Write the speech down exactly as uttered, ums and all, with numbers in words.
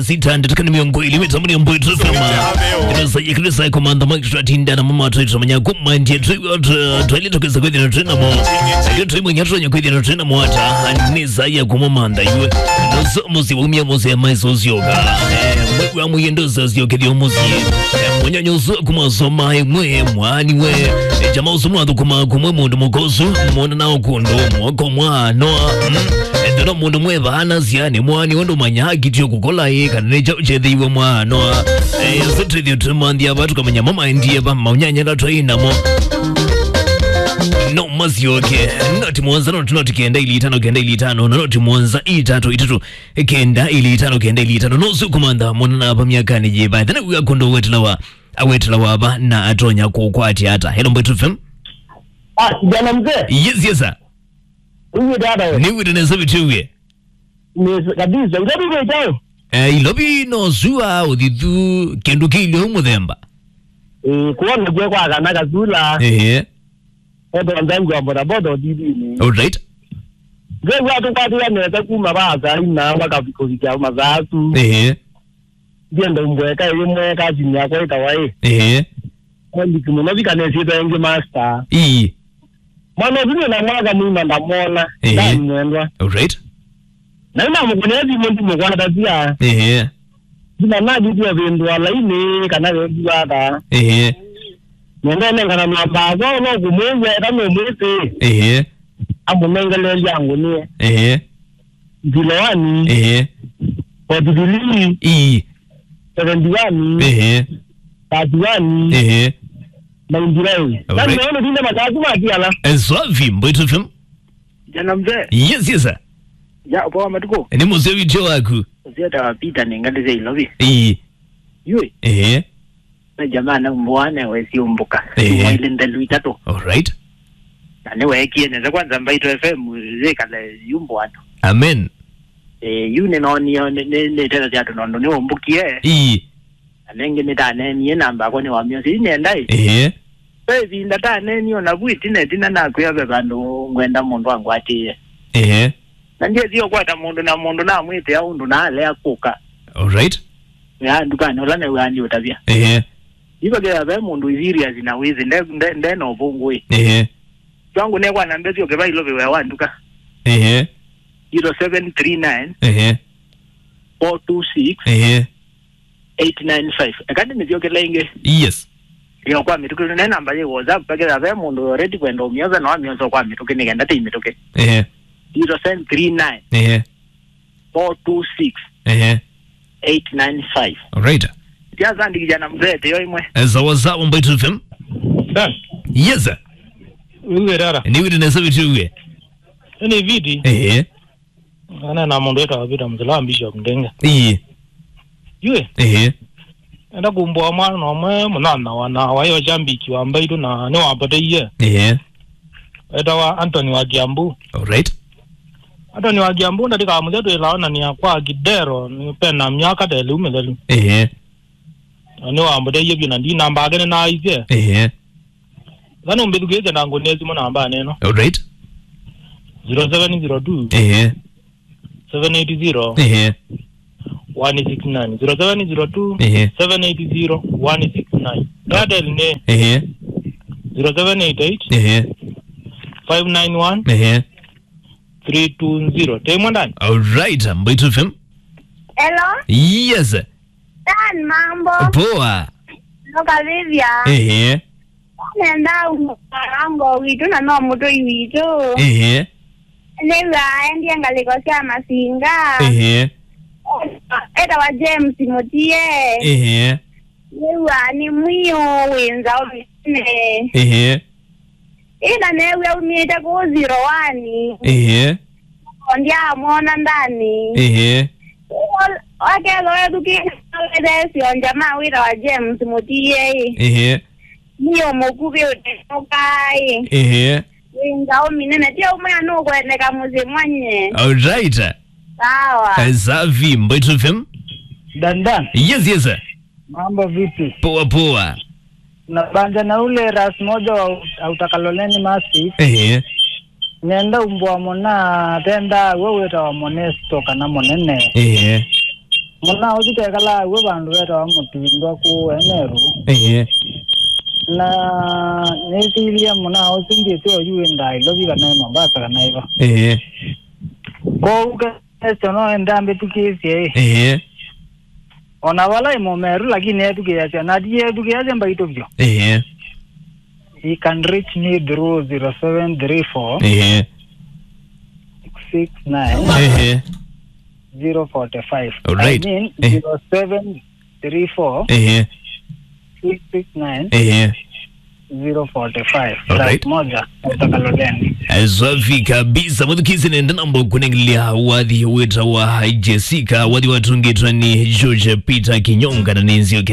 Sita ndatĩka nĩ mĩongo ĩlĩ mĩtambo nĩ Mbwetu F M. Ĩno saa ya kĩlĩsa komanda Mike tũratinda na mama twĩ tũmanya kuma ndiye twĩ twaile tũkĩsa kwĩthĩa na twĩ namo. Ndio twĩ mwenye tũnya kwĩthĩa na twĩ namo ata. Nĩ saa ya kuma manda iwe. Ndoso mũsyĩ waumia mũsyĩ ya maiso ũsyoka. Eh, mwe wa mũyendo sasyo kĩthio mũsyĩ. Eh, mwenye nyoso kuma soma mwe mwani we. Eh, jamaa ũsu mwathũkũma kumwe mũndũ mũkosu. Mwona nao kũndũ mwoko mwa noa. Mm. Ethĩwa mũndũ mwethana syane mwani ũndũ manya akitio kũkola ĩ kana nĩ kyaũ kyethĩiwe mwanoa. Ĩsĩ twĩthĩo tũmanthia va tũkamanya mamaendie va maunyanya ĩla twaĩ namo. No masyoke. Noti mũonza, noti noti kenda ili itano kenda ili itano na noti mũonza itatu itatu kenda ili itano kenda ili itano. No sio kumantha mwana na va myakanĩ yĩva ethana wia kũndũ wetelawa awetelawa va na atonya kũkwatya ata. Hello Mbwetu F M. Ah, kijana mzee. Yes, yes sir. Uwe dada we. Nĩ wĩte nesa vitiwie. Nesa kabisa. Ilovi wĩtaũ? Eh, Ilovi no sua ũthithu kĩndũ kĩilyo mũthemba. Eh, kuona kwe kwa kana kasula. Ehe. Odo ndangu wa bodaboda odidini. All right. Ndio watu kwa dia nesa kuma basa ina wakafika mazasu. Ehe. Ndienda umbweka ĩmwe kazini yakwa ĩtawa ĩ. Ehe. Kwendiki mũno vikanĩsĩte ĩngĩ master. Ii. Mwana ũsu nĩ na mwaka mũima ndamwona. Ehe. Ndamwendwa. All right. Na ĩna mũkũnĩa thimũ ndimũkwatasia. Ehe. Ndina nalĩtio vĩndũa lainĩ kana vĩndũa ata. Ehe. Nenda nengana namba yakwa no kũmwĩw'a eka no mwĩsĩ. Ehe. Amũnengeleelya ngũnĩe. Ehe. Zero one, ehe, forty-three, ii, seventy-one, ehe, thirty-one, ehe, ninety-nine. All right. Nani naona tinde matatu matiala. Eh, swafi, Mbwetu F M. Jana mzee. Yes, yes sir. Ya, poa matuko. Nĩ mũseo video waku. Ũsieta wa Peter nĩ ngalĩ sya Ilovi. Ii. Yui. Ehe. Na jamaa na mbwane wesiũmbũka. Ehe. Mwaile ndelu itatũ. All right. Na nĩweekie nesa kwanza Mbaitũ F M yĩkale yu mbwano. Amen. Eh, yu nĩnoonie nĩ- nĩ- nĩtethasya andũ nondũ nĩũmbũkie. Ii. Na nĩngĩ nĩtaneenie namba yakwa nĩwamyosie yu nenda ĩ. Ehe. Ve ĩvinda taneenie o navu ĩtina ĩtina nakwĩa ve vandũ ngwenda mũndũ angwatĩĩe. Ehe. Na ndyĩsie ũkwata mũndũ na mũndũ namwĩtĩa ũndũ naalea kũka. All right. Ya ndukanĩ ũla new'aa ndiũtavya. Ehe. Ivakĩthĩa ve mũndũ serious na wĩsĩ nde- nde- nde na ũvũngũ ĩ. Ehe. Twangu nekwa namba ĩsu ũkĩva Ilovi wĩa wa nduka. Ehe. Zero seven three nine, ehe, four two six, ehe, eight nine five. Eka ndĩmĩthyokela ĩngĩ. Yes. Yo kwa mĩtũkĩ ne namba yĩ WhatsApp pakĩthĩa ve mũndũ already kwenda ũmyosa no amyosa kwa mĩtũkĩ nĩkenda tei mĩtũkĩ. Ehe. Zero seven three nine, ehe, four two six, ehe, eight nine five. All right. Tiasandikithya na mzee teo imwe. Eh, sawa sawa Mbwetu F M. Dan. Yes sir. Uwe dada. Nĩ wĩte nesa vitiwie. Ni viti. Ehe. Ana na mũndũ wĩtawa Peter Mzila wa Bishop Ndenge. Ii. Yue. Ehe. Enda kumbwa mwana ũmwe mũnana wa na wayo jambiki wa Mbaitũ na nĩwapoteie. Ehe. Etawa Anthony wa Kiambu. All right. Anthony wa Kiambu ndatĩka mũthya twĩlaonania kwa Kidero nĩ pena myaka ta ĩlĩ mĩthelu. Ehe. Na nĩwamboteie vyũ na ndi namba yake nĩnaaisye. Ehe. Kana ũmbĩthukĩĩsye na ngũnĩe simũ namba neno. All right. Zero seven zero two, ehe, seven eight zero, ehe, one six nine. Zero seven zero two, ehe, seven eight zero, one six nine. Airtel nĩ, ehe, zero seven eight eight, ehe, five nine one, ehe, three two zero. Tei mwendani. All right, Mbwetu F M. Hello. Yes. Dan, mambo. Poa. Noka Vivian. Ehe. Nenda ungo witũ na no mũtũi witũ. Ehe. Nĩw'a endie ngalĩko sya masinga. Ehe. Etawa James Mutie. Ehe. Nĩw'a nĩ mwĩũ wĩ nzaũ mĩnene. Ehe. Ĩna neew'a umĩte kũu zero one. Ehe. Ndyaamwona ndani. Ehe. Wakethwa wethukĩĩsye wethesyo njamaa wĩtawa James Mutie. Ehe. Nĩyo mũkuvĩ ũtenũkaĩ. Ehe. Wĩ nzaũ mĩnene. Ti ũmwe nũkwendeka mũsyĩ mwanye. All right. Sawa. Eh, safi, Mbwetu F M. Dandan. Yes, yes, sir. Mambo vipi? Poa, poa. Nabanja na ule ras moja wa ut- utakaloleni masi. Ehe. Nenda umbwa mona tenda we wĩtawa Monesto kana Monene. Ehe. Mũnaa ũsu tekalaa w'o vandũ vetawa Mũtindwa kũũ Emeru. Ĩĩ. Na nĩsĩlye mũnaa ũsu ndyĩsĩ oyu wĩ Nairobi kana ĩ Mombasa kana ĩva. Ĩĩ. Kwoou kesyo no enda ambĩthukĩĩsye ĩ. Ĩĩ. O na vala ĩ Mũmeru lakini ethukĩĩasya na ti ethukĩĩasya mbaitũ vyũ. Ĩĩ. He can reach me through zero seven three four Ĩĩ. six six nine Ĩĩ. zero forty-five. All right. I mean, Eh. zero seven three four Ĩĩ. six six nine Ĩĩ. zero forty-five. All right. Plus moja, kutoka Loleni. Eh, safi kabisa. Mũthukĩĩsye nenda namba kũnengelea wathi wĩtawa Jessica, wathi watungĩtwe nĩ George Peter Kinyonga na nĩ nzio